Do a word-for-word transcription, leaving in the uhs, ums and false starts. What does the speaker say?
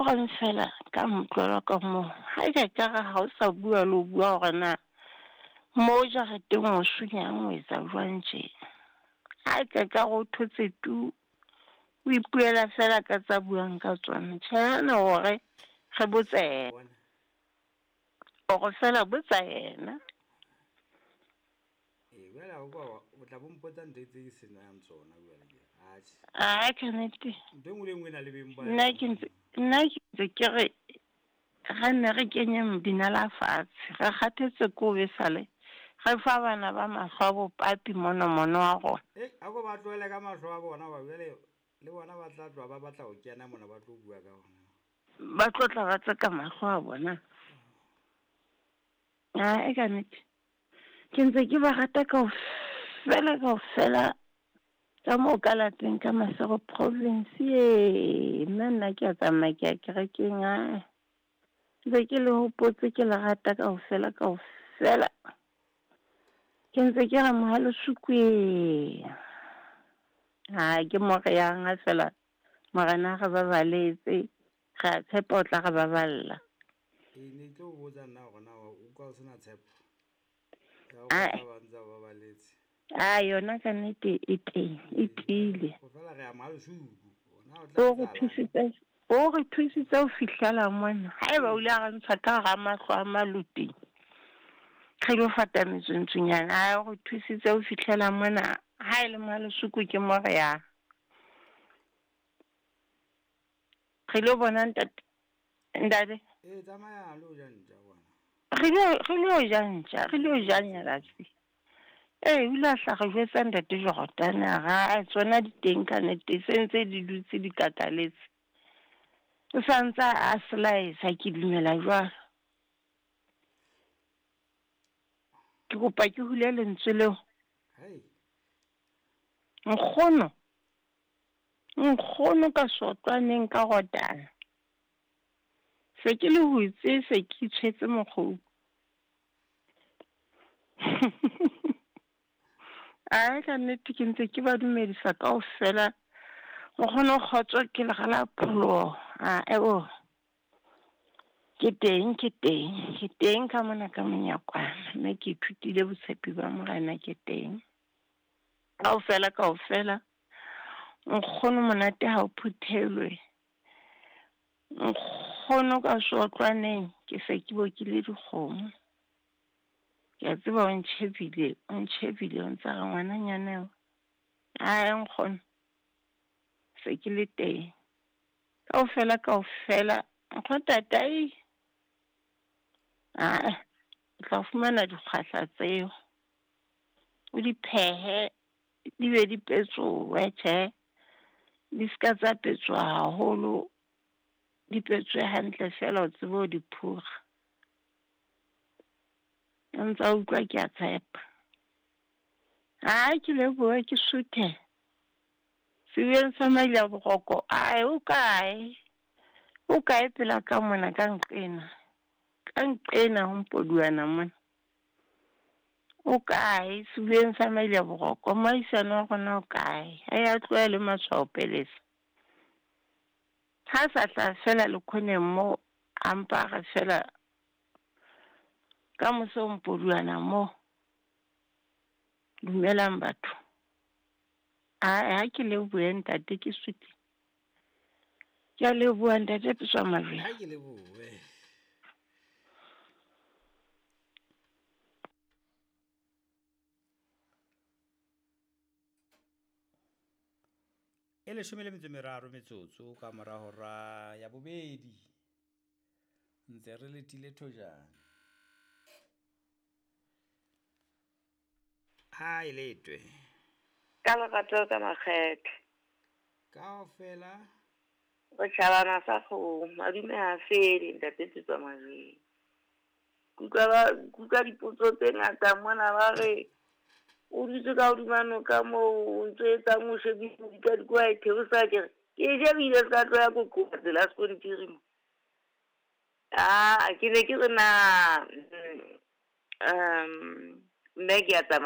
Reng fela ka motlolo ka moo ha e ka ka re ha o sa bua le ho bua hore na mo jareteng o sunyang o etsa jwang tje. Ha e ka ka re o thotse tu, o ipuela fela ka tsa buang ka tsona. Tjhe na hore re botse Bona. Hore fela botsa yena. Ee, jwale ha o ka o tla bo mpotsa ntho tse ke senang tsona jwale ke. Atjhe. Ah, ka nnete. Ntho e nngwe le e nngwe e na le beng ba Nna ke ntse nna ke ntse ke re re nne re kenyeng dinala fatshe. Re kgathetse ke ho besale re fa bana ba mahlo a bopapi mono mono wa rona. E, a ko ba tlohele ka mahlo a bona hoba jwale le bona ba tla tloha ba batla ho kena mona ba tlo bua ka ona. Ba tlo tla ba tseka mahlo a bona. Ah, e ka nnete. Ke ntse ke ba rata kaofela kaofela ka moo ka lapeng ka Maseru province e. Nna nna ke a tsamaya ke ya kerekeng ae. Ntse ke le hopotse ke le rata kaofela kaofela. Ke ntse ke re Mohalesuku. Ha ke mo re yang ha fela morena re babaletse. Re a tshepa o tla re baballa. E ne tlo o botsa nna hore na o utlwa o sena tshepo. Ya hore Ae. ba ba ntse ba babaletse. A yona ka nnete e teng, e tiile. Ho fela re ya Mohalesuku. Ona o tla O re etsahalang? thusitse, o re thusitse ho fihlela mona. Haeba o ile a re ntsha ka hara mahlo a maluti. Re lo fata metswentsunyana. Ae, o re thusitse ho fihlela mona. Ha e le Mohalesuku ke mo re yang. Re lo bona ntate. Ntate. E tsamaya lo ja ntja bona. Re lo re lo ja ntja, re lo ja nyalatsi. Ee, o ile a hla re jwetsa ntate Jordan a re ae tsona di teng ka nnete se ntse di dutse di kakaletse. O sa ntsa a slice ke dumela jwalo. Ke kopa ke hule lentswe leo. Hei. Nkgono. Nkgono ka sotlwaneng ka rotana. Se ke le hutse se ke itshwetse mokgobu. Ae ka nnete ke ntse ke ba dumedisa kaofela. Nkgono kgotso ke le rala pholoho. Ae o. Ke teng, ke teng, ke teng ka mona ka monyakwana. Mme ke ithutile botshepi ba morena ke teng. Kaofela kaofela. Nkgono monate ha o phuthelwe. Nkgono ka sotlwaneng ke se ke bokile dikgomo. Ke a tseba o ntjhebile, o ntjhebile o ntsa re ngwananyana eo. Ae nkgono. Se ke le teng. Kaofela kaofela nkgono tatai. Ae, o tla fumana dikgwahla tseo. O di phehe di be di petsohe tjhe. Di ska tsa petswa haholo. Di petswe hantle fela o tsebe ho di phura. O ntsa utlwa ke a tshepa. Ha ke lebohe ke suthe. Sebeng sa Maila Boroko, ae o kae? O kae pela ka mona ka nqena? Ka nqena ho mpoduana mona. O kae sebeng sa Maila Boroko? Moahisane wa rona o kae? Ha ya tlohele matshwao pelesa. Ha sa tla fela le khoneng mo a mpa re fela ka mose ho mpoduana mo. Dumelang batho. Ae ha ke lebohe ntate ke suthe. Ke a leboha ntate Petswa Majweng. Ha ke lebohe. E leshome le metso e meraro metsotso ka mora hora ya bobedi. Ntse re letile thojana. Ha e letwe. Ka lerato ka makgethe. Kaofela. Re tjhabana sa kgomo, madume ha fele ntate Petswa Majweng. Kutlwa ba kutlwa dipotso tse ngata mona ba re o dutse ka hodima noka moo o ntso etsang o shebile dikadiko wa e theosa ke re ke e shebile se ka tloya kokoba tsela sekontiri mo. Ah, ke ne ke re na um mme ke a tsamaya.